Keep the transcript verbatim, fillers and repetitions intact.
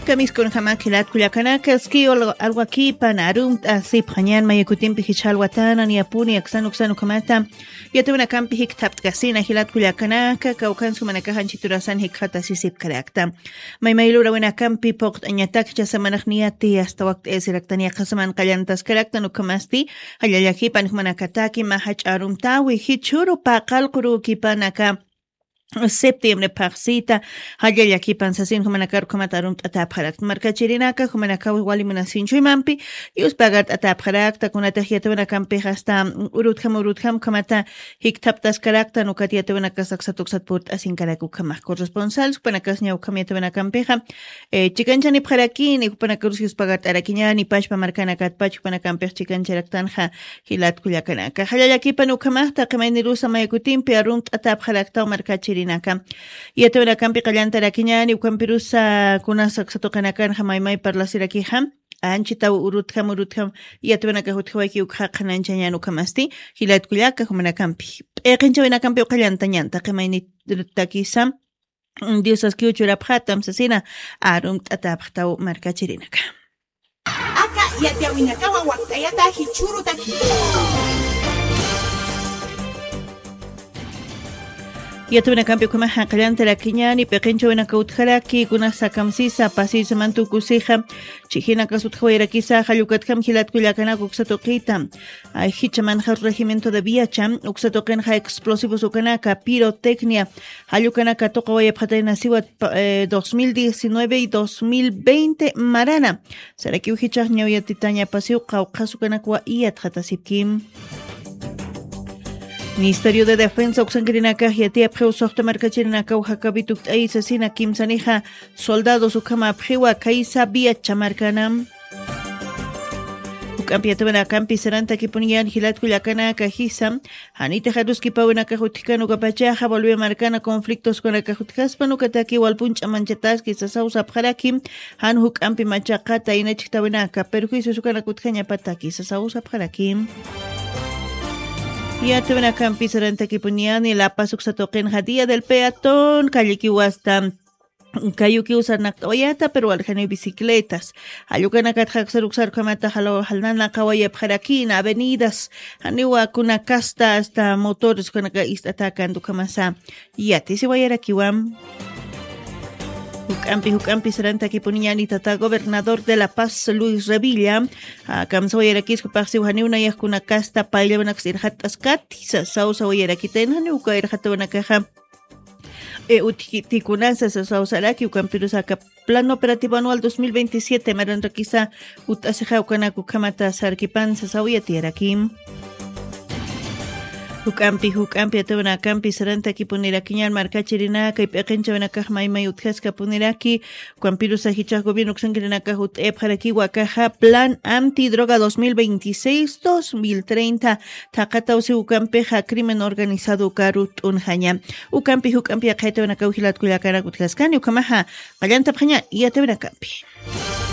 Kamiskunjama jilat kullakanaka, ski alwakipan arumt'asipxañan mayakutimpi jichha alwatanan yapuni aksan uksan ukhamata. Yatawinakampi jikthapt'kasina jilat kullakanaka, kawkhansa jumanakax anchiturasan jikxatasisipkarakta. Maymaylurawinakampi puqt'añatak jichha samanaq niyati asta wakt'ayasiraktan yaqha saman qallantaskaraktan ukhamasti, jalla llakipan jumanakataki mä jach'a arumtawi jichhuru paqallqurükipanaka septiembre phaxsita, jalla llakipan sasin jumanakar ukhamat arumt'atäpxarakta markachirinaka, jumanakaw wali munasinchuymampi yuspagart'atäpxarakta, kunatix yatawinakampix asta urutjam urutjam ukhamata jikthaptaskaraktan ukat yatawinakas aksat uksat purt'asinkarak ukhamax corresponsal, jupanakas ña ukham yatawinakampixa, eh, chikanchanipxarakini, jupanakarus yuspagart'arakiñani pachpa markanakatpach, jupanakampix chikancharaktanxa jilat kullakanaka. Jalla llakipan ukhamax taqi maynirusa mayakutimpi arumt'atäpxaraktaw markachirinaka. Yatawinakampi qallantarakiñani, ukampirusa kunas aksa tuqinakanxa maymay parlasirakixa, anchitaw urutjam urutjam yatawinakax utjawayki ukxa qhananchañan ukhamasti, jilat kullaka jumanakampi. P'iqinchawinakampiw qallantañan, taqi maynirutakisa, Diosaskiw churapxatam sasina, arumt'atäpxtaw markachirinaka. Aka yatiyawinakawa wakt'ayata jichhürutaki. Yatawinakampi ukhamaxa qallantarakiñani, p'iqinchawinaka utjaraki, kunasa kamsisa, pasiysamanta ukusixa, chijinakas utjawayarakisa, jallukatjam jilat kullakanaka uksa tuqita. Ay, jichha manjar regimiento de Viacha, uksa tuqinxa explosivos ukanaka, pirotecnia, jallukanaka tuqawayapxatayna siwat, pa-, eh, dos mil diecinueve y dos mil veinte marana. Sarakiw jichhax ñaw yatitañapasiw qawqhas ukanakwa iyatxatasipki. Ministerio de Defensa uksankirinakax yatiyapxiw suxta markachirinakaw jakapi tukt'ayi sasina kimsanixa soldados ukhamapxiwa khaysa Viacha markana. Juk'ampi yatawinakampi sarantakipuniñan jilat kullakanaka jisa, janitix aruskipawinakax utjkan ukapachaxa Bolivia markana conflictos ukanakax utjaspan ukataki walpun ch'amanchataski sasaw sapxaraki, jan juk'ampi machaqata inachjtawinaka perjuicios ukanak utjañapataki sasaw sapxaraki. Yatawinakampi sarantakipuniñani La Paz uksa tuqinxa Día del Peatón, callekiw asta kayukiw sarnaqt'awayata, pero walxaniw bicicletas. Jallukanakatxa aksar uksar ukhamata jalaw jalnanaqawayapxarakina avenidas, janiwa kunakasta asta motores ukanaka ist'atäkanta ukhamasa yatisiwayarakiwa. Juk'ampi, juk'ampi sarantakipuniñani tata gobernador de La Paz, Luis Revilla, a, kamsawayarakispa paqsiw janiw nayax kunakasta payllawanaksa irxatt'askati sasaw sawayarakitayna, janiw uka irxatawanakaxa, e, utjkitikunasa sasaw saraki, ukampirus aka Plan Operativo Anual dos mil veintisiete maranrakisa ut'asixa ukanak ukhamata sarkipan sasaw yatiyaraki. Juk'ampi, juk'ampi yatawinakampi sarantakipunirakiñan markachirinaka, p'iqinchawinakax maymay utjaskapuniraki, ukampirusa jichhax gobierno uksankirinakax ut'ayapxarakiwa akaxa Plan Antidroga dos mil veintiséis, dos mil treinta, thaqatawsi ukampixa crimen organizado ukaru t'unxaña. Ukampi juk'ampi yaqha yatawinakaw jilat kullakanak utjaskani, ukhamaxa qallantapxaña yatawinakampi.